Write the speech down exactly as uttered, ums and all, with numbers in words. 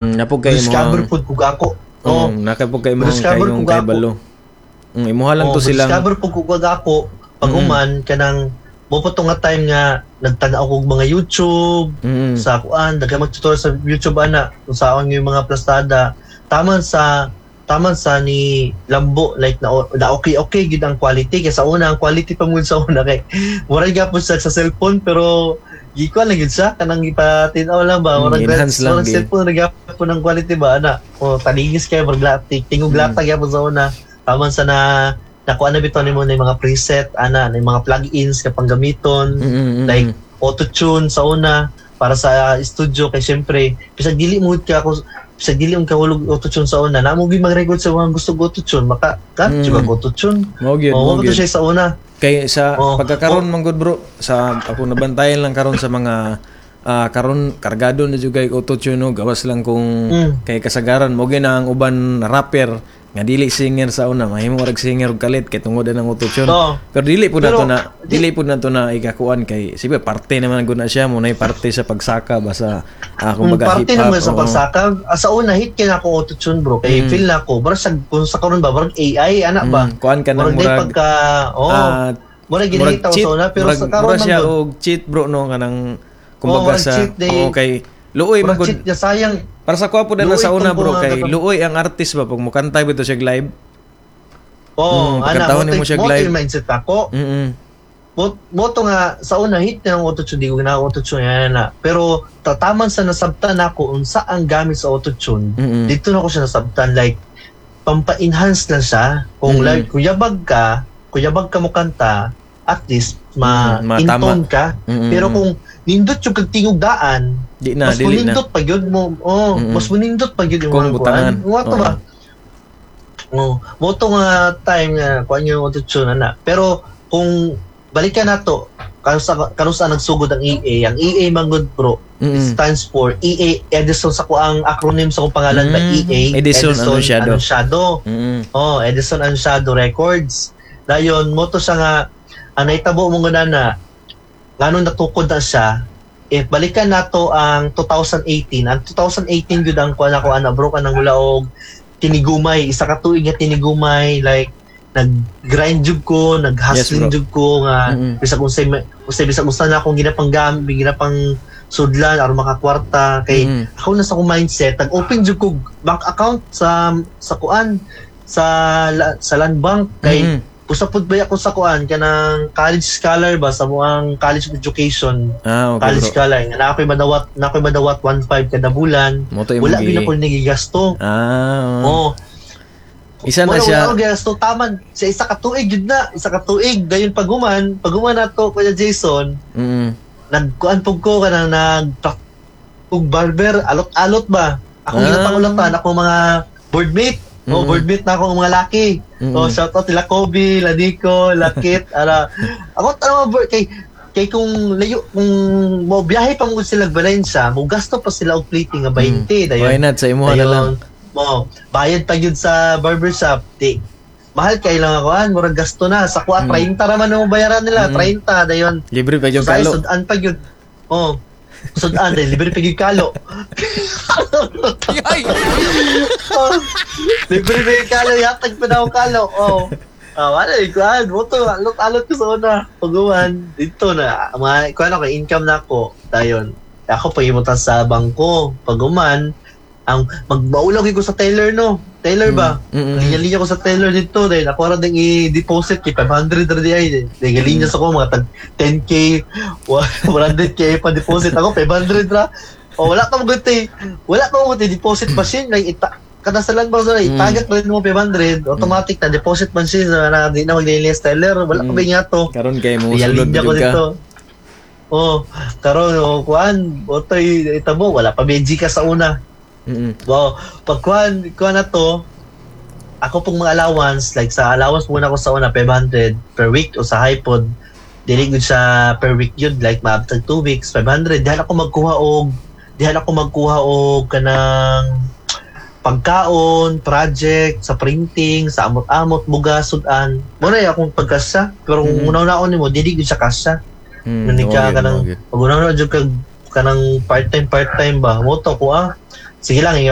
Mm, Napog kay Discover imong pud kog ako. Oh, mm, nakapog kay imong Discover kay kog kay ako. balo. Mm, imuha lang oh, to silang discover pud kog ako pag Mm. human kanang mo pa to nga time nga nagtan-aw kog mga YouTube mm, sa kuan daghan mag-tutorial sa YouTube ana kung saan yung mga plastada taman sa taman sa ni Lambo like na, na okay okay gid ang quality kay sa una ang quality pa mo sa una kay murag gyapon siya sa cellphone pero gikuan lang gid siya kanang ipatin-aw lang ba Mm, murag enhance lang murag gid. cellphone ra gyapon ang quality ba ana o taligis kay murag lati tingog Mm. lata gyapon sa una taman sa na nakuha na bitaw nimo na yung mga preset ana na yung mga plugins ka panggamiton mm, mm, mm, like auto-tune sa una para sa studio kay syempre bisag dili mo ka kung bisag dili mo kahulog auto-tune sa una namo gyud mag-record sa mga gusto og auto-tune maka ka Mm. mm. auto-tune mao gyud, oh mao mo gyud. siya sa una Kay sa Oh. pagkakaron man gud bro, sa ako nabantayan lang karon sa mga ah, karon kargado na jud kay auto-tune no, gawas lang kung Mm. kay kasagaran mo gyud na ang uban rapper nga dili singer sa una mahimo rag singer og kalit kay tungod na ng auto-tune. Oo. Pero dili pud nato Pero, na dili pud nato na ikakuan kay sige parte naman gud na siya mo nay parte sa pagsaka basta ah, Mm, kumbaga parte hip hop. naman sa oo. pagsaka Ah, sa una hit kay na ako auto-tune bro kay Mm. feel na ako murag sa kung sa karon ba murag A I ana ba Mm, kuan ka ng murag day murag pagka oh ah, murag murag ginahita ko cheat, sa una pero murag, sa karon murag man siya gud og cheat bro no kanang kumbaga murag sa cheat day. oo kay luoy man murag gud cheat niya sayang para sa kuha po na Luoy sa una tong bro mga kay katong- luoy ang artist ba pag mukanta bitaw siya live oh Mm, ana pagkantahon mo nimo siya mo live. yung mindset ako mm mo mo to nga sa una hit na ang autotune di ko na autotune yan na pero tataman sa nasabtan ako unsa ang gamit sa autotune mm dito na ako siya nasabtan like pampa-enhance lang siya kung Mm. like kung yabag ka kung yabag ka mo kanta at least ma Mm, matama. intone ka pero kung nindot yung kag tingog daan di na mas dili na munindot pa gyud mo oh Mm-mm. mas munindot pa gyud yung Kung mga butangan. kuan mo to ba oh mo to nga time nga kuan yung autotune ana pero kung balikan nato karon sa karon sa nagsugod ang E A ang E A manggod bro Mm-mm. stands for E A Edison sa kuang acronym sa kong pangalan ba Mm. E A Edison Anunciado. Anunciado. Mm-mm. Oh, Edison Anunciado Records. Dayon mo to siya nga ang nahitabo mo nga na ngano natukod na siya if balikan nato ang twenty eighteen ang twenty eighteen gyud ang kuan ako ana bro kanang wala og tinigumay isa ka tuig nga tinigumay like nag-grind jud ko nag-hustling Yes, bro. jud ko nga Mm-mm. bisag unsay unsay bisag unsa na akong ginapanggam ginapang sudlan aron makakwarta kay Mm-mm. ako na sa akong mindset nag-open jud ko bank account sa sa kuan sa la- sa land bank kay Mm-mm. usa pud ba ako sa kuan kanang college scholar ba sa muang college of education Ah, okay college bro. scholar nga na ako'y madawat na ako'y madawat one point five kada bulan Mo to imong wala gyud gi- ako nagigasto Ah. oh Isa na wala, siya. wala ako gigasto taman sa isa ka tuig gyud na isa ka tuig dayon paguman paguman nato Kuya Jason Mm. nagkuan pug ko kanang nag ug barber alot-alot ba ako Ah. ginapangulatan ako mga boardmate Mm. oh boardmate na ako ang mga laki Mm. oh shout out sila Kobe Lanico Lakit ala ako tama board kay kay kung layo kung mo biyahe pa mo sila Valencia mo gasto pa sila og plating nga twenty dayon Why not sa imuha na lang. mo bayad pa gyud sa barbershop di mahal kay lang ako an murag gasto na sa kuha Mm. thirty ra man ang bayaran nila Mm. thirty dayon Libre pa yung sa kalo. sudan pa gyud. Oh. Sudan dahil libre pa gyud kalo. Oh, libre pa gyud kalo, yatag pa na ako kalo. Oh. Ah, wala eh, kuan, moto, alot-alot ko sa una. Paguman, dito na, mga, kuan ako, income na ako. Dayon. Ako, pagimutan sa bangko. Paguman, ang magbaulaw ko sa teller no. Teller ba? Mm, mm, mm. Linya-linya ko sa teller dito dahil ako ra ding i-deposit kay five hundred ra di ay. Dahil linya sa ko mga tag ten k, one hundred k pa deposit ako five hundred ra. O wala pa mo guti. Wala pa mo guti deposit machine like ita kada sa land bank sa Mm. itagak rin mo five hundred automatic na deposit machine na, na di na maglinis teller wala pa Mm. ba nga to. Karon kay mo sulod Linya ko jud ka. dito. Oh, karon oh, kuan, otoy itabo wala pa B G ka sa una. Mm. Wow, pag kuan, kuan na to, ako pong mga allowance, like sa allowance muna ko sa una, five hundred per week o sa iPod, dili gud siya per week yun, like maabtag two weeks, five hundred. Dihan ako magkuha og, dihan ako magkuha og kanang pagkaon, project, sa printing, sa amot-amot, bugas, sudan. Muna akong pagkasya. Pero kung Mm. una-unaon nimo, dili gud siya kasya. Mm. Nani mao ka gyud, kanang mao gyud. pag una-una jud kag kanang part-time part-time ba mo to ko ah Sige lang, ingat.